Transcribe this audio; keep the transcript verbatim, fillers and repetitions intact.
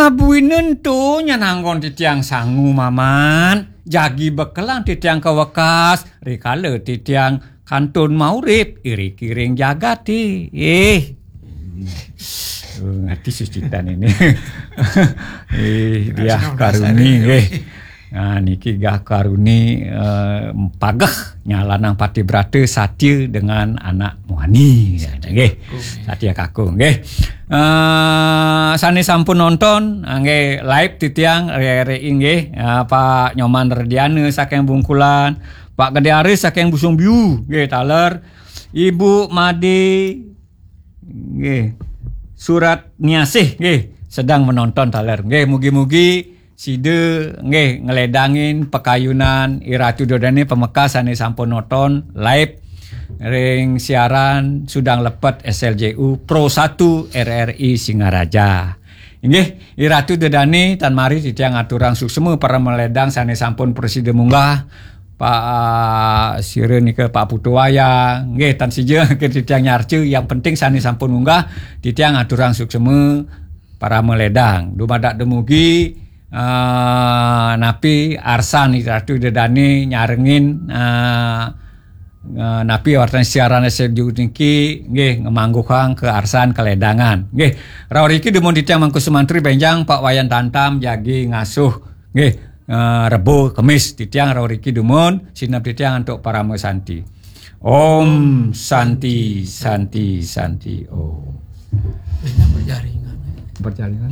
Buina ento nyan anggon titiang sangu, Mamat. Jagi bekelang titiang ka wekas, rikala titiang kantun maurip iriki ring jagate. Eh. Oh, ngerti sucitan ini. Eh, Diah Karuni, eh. Nah, niki Gah Karuni, eh, pageh nyalanang pati brata satia dengan anak muani. Nggih. Satia kakung, nggih. Eh, sane sampun nonton, nggih, live titiang, re-, re-, nggih. Eh, Pak Nyoman Rediana saking Bungkulan, Pak Gede Aris saking Busung Biu, nggih, taler. Ibu Made, nggih. Surat Niasih, nggih, sedang menonton taler. Nggih, mugi-mugi sida, nggih, ngledangin pakayunan Iratu Dodane pamekas sane sampun nonton live ring siaran Sudang Lepet S L J U Pro satu R R I Singaraja. Inggih, Iratu Dedane, tan mari titiang aturang suksma para maledang sane sampun prasida munggah, Pak, ah, sira nika Pak Putu Wayang, nggih, tan sida ke titiang nyarca, yang penting sane sampun munggah, titiang aturang suksma para maledang. Dumadak dumugi, ah, napi arsan Iratu Dedane nyarengin, ah, eh, napi wartan siaran S F J U niki, nggih, ngamangguhang kaarsan kaledangan. Nggih, rauh riki dumun titiang Mangku Sumantri benjang Pak Wayan Tantam jagi ngasuh. Nggih, eh, Rebo Kemis titiang rauh riki dumun, sineb titiang antuk parama santi. Om Santi, Santi, Santi Om. Ini berjaringan. Berjaringan.